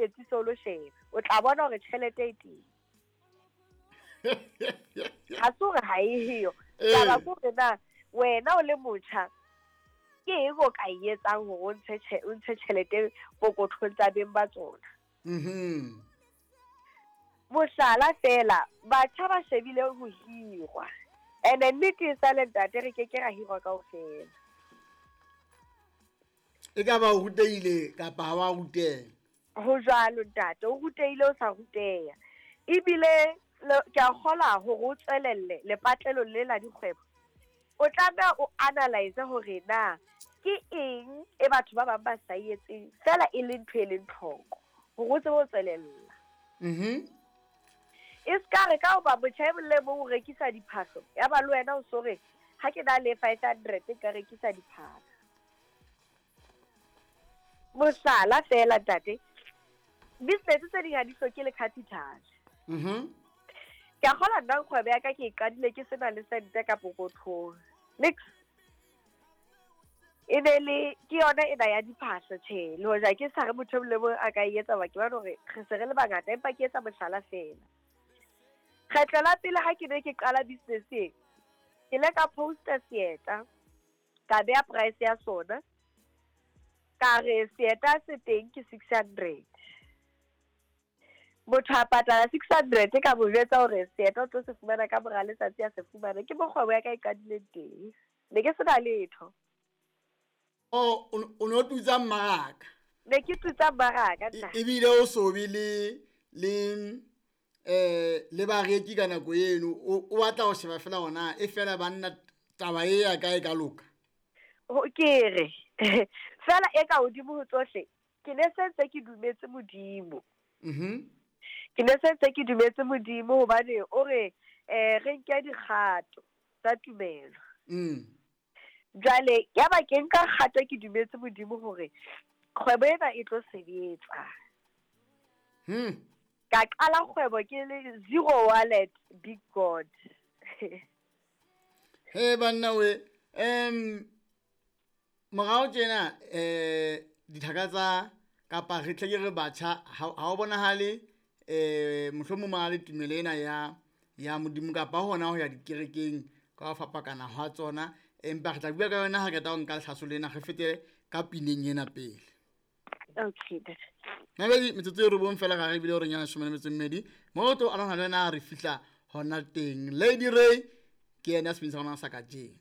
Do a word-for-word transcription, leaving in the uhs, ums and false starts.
iketsise o lo sheba o tla bona hore tjhelete e teng. Ha se hore ha e eyo. Taba ke hore na wena o le motjha ke eng o ka e etsang hore o ntshe o ntshe tjhelete pokothong tsa beng ba tsona. Mhm. Mohlala fela, batjha ba shebile ho hirwa. Ene nnete e sale ntate, re ke ke ra hirwa kaofela. E ka ba o rutehile kapa ha wa ruteha? Ho jwalo ntate, o rutehile o sa ruteha. Ebile ke a kgola hore o tswelelle lepatlelong le la dikgwebo. O tlameha o analyze hore na ke eng e batho ba bang ba sa e etseng fela e le ntho e leng tlhoko hore o tsebe ho tswelella. Mhm. E ska re ka hoba motjha e mong le mong o rekisa diphahlo, ya ba le wena o so re ha ke na le five hundred nka rekisa diphahlo. Mohlala fela ntate, business tse ding ha di hloke le capital. Mhm. Ke a kgola nna kgwebo ya ka ke e qadile ke sena le sente ka pokothong. Nix. E ne le ke yona ena ya diphahlo tjhe, le hoja ke sa re motho e mong le mong a ka e etsa hoba ke bona hore re se re le bangata, empa ke etsa mohlala fela. Kgetlo la pele ha ke ne ke qala business e, ke ile ka posta seeta, ka beha price ya sona, ka re seeta se teng ke six hundred. Motho a patala six hundred ka mo jwetsa hore seeta o tlo se fumana ka mora letsatsi a se fumana. Ke mo kgwebo ya ka e qadileng teng. Ne ke sena letho. O o no tutsa mmaraka. Ne ke tutsa mmaraka ntate. Ebile o so be le le eh le bareki ka nako eno, o batla ho sheba fela hona e fela banna taba e ya kae ka loka. Ke re fela e ka hodimo ho tsohle, ke ne se ntse ke dumetse Modimo. Mhm. Ke ne se ntse ke dumetse Modimo hobane o re eh re nke dikgato tsa tumelo. Mm. Jwale ya ba ke nka kgato ke dumetse Modimo hore kgwebo ena e tlo sebetsa. Hmm. Ka qala kgwebo ke le zero wallet, big God. He banna we, em morao tjena eh dithaka tsa kapa re tle ke re batjha ha o bonahale eh mohlomong ba le tumelo ena ya ya Modimo kapa hona ho ya dikerekeng ka ho fapakana ha tsona, empa re tla bua ka yona ha re qeta ho nka lehlaso lena, re fete ka pineng ena pele. Okay. Mabedi metsotso e robong fela ga re bile hore nyana leshome le metso e mmedi mo tlo alana le wena re fihla hona teng. Lady Ray ke yena a sebedisa hona sa kajeno.